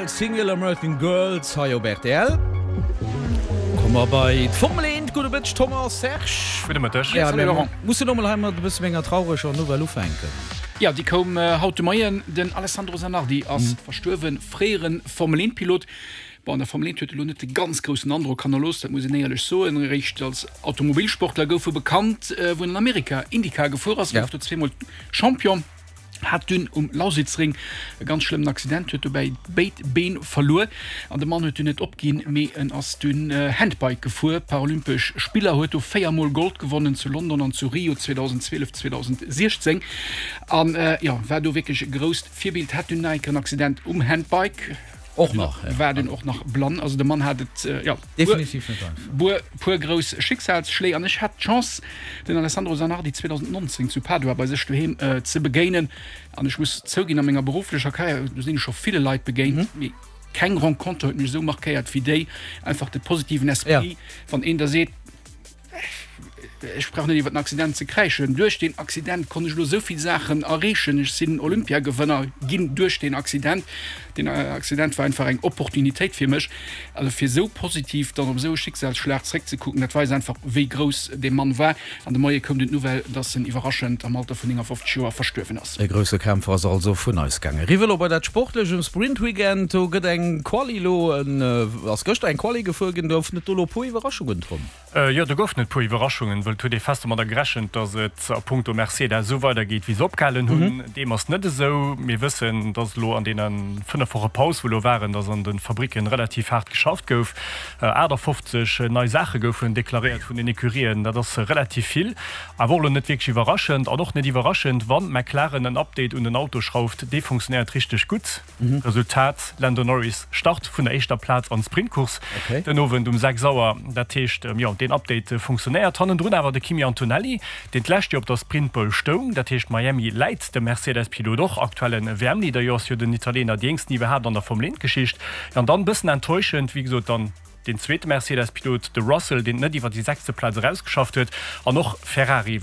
Single American Girls hei op rtl. Komme mer bei d'Formel 1. Gudde Mëtteg Thomas, Serge. Gudde Mëtteg. Ja, mir mussen elo mol hei mat e bësse méi enger traureger Nouvelle ufänken. Jo, déi koum haut de Moien. Den Alessandro Zanardi ass verstuerwen, fréiere Formel 1 Pilot. Bon, an der Formel 1 huet e lo net de ganz groussen Androck hannerlooss, dat muss een éierlech soen. Eréischt als Automobilsportler gouf e bekannt, wou en an Amerika IndyCar gefuer ass, gouf do zweemol Champion. Hat dunn um Lausitzring e ganz schlëmmen Accident, huet dobäi béid Been verluer an de Mann huet dunn net opginn, mee en ass dunn Handbike gefuer. Paralympesch Spiller, huet do 4 mol Gold gewonnen, zu London an zu Rio 2012, 2016 an jo war do wierklech e grousst Virbild. Hat dunn nach eng Kéier en Accident um Handbike. Och nach, ja. War dunn och nach blann. Also de Mann hat et, jo, Definitiv net einfach. Puer, puer grouss Schicksalsschléi. An ech hat d'Chance, den Alessandro Zanardi 2019 zu Padua bei sech doheem ze begéinen. An ech muss zouginn, a menger berufflecher Karriär, do sinn ech scho ville Leit begéint, mee keng Renconter huet mech esou markéiert wéi déi. Einfach de positiven Esprit, wann een der seet, Ech brauch net iwwer den Accident ze kräischen. Duerch deen Accident konnt ech elo esou vill Saachen erreechen. Ech sinn Olympiagewënner ginn duerch deen Accident. Deen Accident war einfach eng Opportunitéit fir mech. Also fir esou positiv dann op esou e Schicksalsschlag zréckzekucken, dat weist einfach, wéi grouss dee Mann war. An de Moie koum dunn d'Nouvelle, dass en iwwerraschend am Alter vun 59 Joer verstuerwen ass. E grousse Kämpfer ass also vun eis gaangen. Eriwwer elo bei dat Sportlecht um Sprintweekend. Do gëtt eng Quali elo, ass gëschter eng Quali gefuer ginn. Goufen et do elo e puer Iwwerraschungen, Tom? Jo, do goufen et puer Iwwerraschungen, wëll et huet ee fest domadder gerechent, datt et a punkto Mercedes esou weidergeet, wéi se opgehalen hunn. Deem ass net esou. Mir wëssen, datt elo an deene 5 Woche Paus, wou elo waren, datt an de Fabricken relativ haart geschafft gouf. 58 nei Saache goufen deklaréiert vun den Ecurien, dat ass relativ vill, awer och elo net wierklech iwwerraschend. An och net iwwerraschend, wa McLaren en Update un den Auto schrauft, dee funktionéiert richteg gutt. Resultat, Lando Norris start vun der éischter Plaz an d'Sprintcourse den Owend um 6 Auer. Dat heescht, jo, deen Update funktionéiert. Hannendrun awer de Kimi Antonelli, deen d'lescht Joer op der Sprintpole stoung. Dat heescht, Miami läit dem Mercedes-Pilot och. Aktuelle WM-Leader, jo, ass jo den Italiener, déi jéngsten iwwerhaapt an der Formel 1-Geschicht. An dann, bëssen enttäuschend, wéi gesot, dann deen zweete Mercedes-Pilot, de Russell, deen et net iwwer déi sechste Plaz erausgeschafft huet. An och Ferrari.